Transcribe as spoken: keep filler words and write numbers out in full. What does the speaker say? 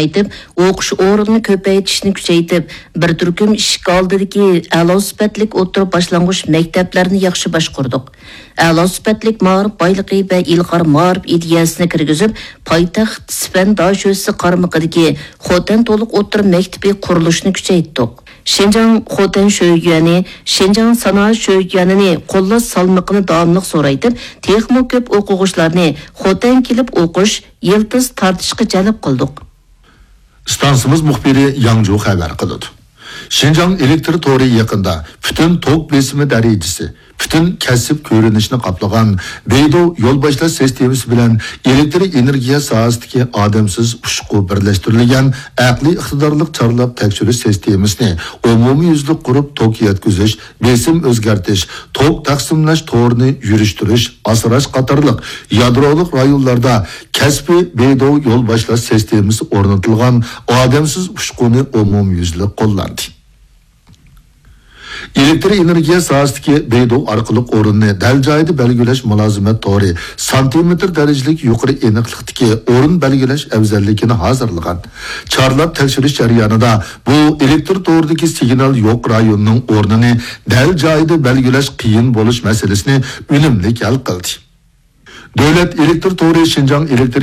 كېڭەيتىپ، ئوقۇش ئورنىنى كۆپەيتىشنى كۈچەيتىپ، بىر تۈركۈم ئىشىك ئالدىدىكى ئەلا سۈپەتلىك ئوتتۇرا باشلانغۇچ مەكتەپلەرنى ياخشى باشقۇردۇق. ئەلا سۈپەتلىك مائارىپ بايلىقى ۋە ئىلغار مائارىپ ئىدىيەسىنى كىرگۈزۈپ، پايتەخت سىفەن داشۆسى قارمىقىدىكى خوتەن تولۇق ئوتتۇرا مەكتىپى قۇرۇلۇشىنى كۈچەيتتۇق. شىنجاڭ خوتەن شۆيۈەنى، شىنجاڭ سانائەت شۆيۈەنىنى قوللاش سالمىقىنى داۋاملىق زورايتىپ، تېخىمۇ كۆپ ئوقۇغۇچىلارنى خوتەن كېلىپ ئوقۇش، يىلتىز تارتىشقا جەلپ قىلدۇق. ئىستانسىمىز مۇخبىرى ياڭجۇ خەۋەر قىلىدۇ. شىنجاڭ ئېلېكتر تورى يېقىندا پۈتۈن توك بېسىمى دەرىجىسى، پۈتۈن كەسىپ كۆرۈنۈشىنى قاپلىغان بېيدۇ يول باشلاش سىستېمىسى بىلەن ئېلېكتر ئېنېرگىيە ساھەسىدىكى ئادەمسىز ئۇچقۇ بىرلەشتۈرۈلگەن ئەقلىي ئىقتىدارلىق چارلاپ تەكشۈرۈش سىستېمىسىنى ئومۇميۈزلۈك قۇرۇپ، توك يەتكۈزۈش، بېسىم ئۆزگەرتىش، توك تەقسىملەش تورىنى يۈرۈشتۈرۈش، ئاسراش قاتارلىق يادرولۇق رايونلاردا كەسپىي بېيدۇ يول باشلاش سىستېمىسى ئورنىتىلغان ئادەمسىز ئۇچقۇنى ئومۇميۈزلۈك قوللاندى. ئېلېكتر ئېنېرگىيە ساھەسىدىكى بېيدۇ ئارقىلىق ئورۇننى دەل جايىدا بەلگىلەش مۇلازىمەت تورى سانتىمېتىر دەرىجىلىك يۇقىرى ئېنىقلىقتىكى ئورۇن بەلگىلەش ئەۋزەللىكىنى ھازىرلىغان. چارلاپ تەكشۈرۈش جەريانىدا بۇ ئېلېكتر تورىدىكى سىگنال يوق رايوننىڭ ئورنىنى دەل جايىدا بەلگىلەش قىيىن بولۇش مەسىلىسىنى ئۈنۈملۈك ھەل قىلدى. دۆلەت ئېلېكتر تورى شىنجاڭ ئېلېكتر